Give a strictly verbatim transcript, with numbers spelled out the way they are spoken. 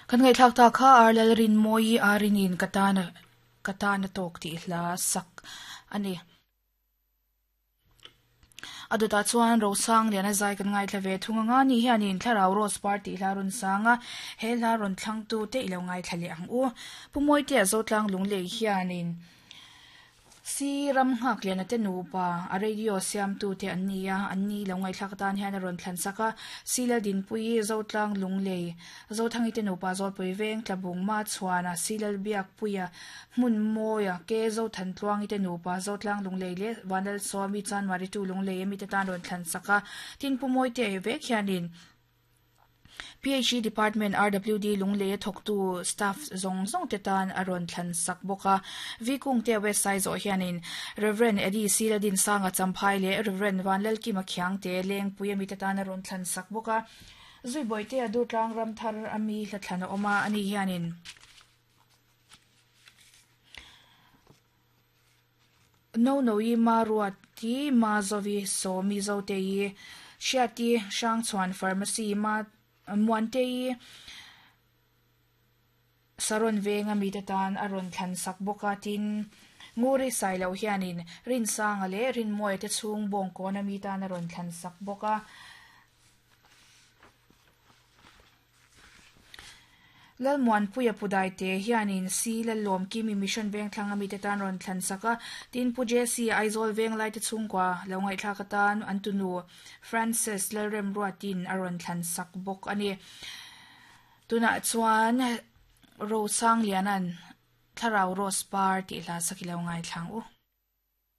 Kan ngai thlak ta kha arlal rin moi arinin katana katana tok ti hla sak ani. Aduta chuan rosang lian a zai kan ngai thla ve thunga nga ni hianin thlarau rose party hla run sanga he hla ron thlang tu te ilo ngai thlali ang u pumoi te zotlang lunglei hianin si ram ngak lian ate nupa a radio siam tu te an nia an ni lo ngai thlak tan hian a ron thlan saka sila din pui zotlang lunglei zothangi te nupa zolpui veng tlabung ma chuana silal biak puia hmun moya ke zo than tluangi te nupa zotlang lunglei le vanal somi chan mari tu lunglei mi te tan ron thlan saka tin pumoi te vek hianin P H E Department R W D lungle thok tu staff zong zong te tan aron thlan sak boka vikung te website zo hianin Reverend Eddie Siladin sanga champhai le Reverend Vanlal ki makhyang te leng puya mi te tan aron thlan sak boka zui boi te adu tlang ram thar ami hlathlana oma ani hianin no no yi ma ruati ma zovi so mi zo te yi shiati shang chuan pharmacy ma muante saron venga mi te tan aron thlan sak boka tin nguri sai lo hianin rin sanga le rin moi te chung bong ko na mi tan aron thlan sak boka lal muan puya pudai te hianin si lal lom ki mi mission veng thlanga mi te tan ron thlan saka tin puje si Aizol veng lai te chungkwa lo ngai thla ka tan antunu Francis lalrem ruatin aron thlan sak bok ani tuna chuan ro sang lianan thlarau rose par ti hla sakilo ngai thlang u.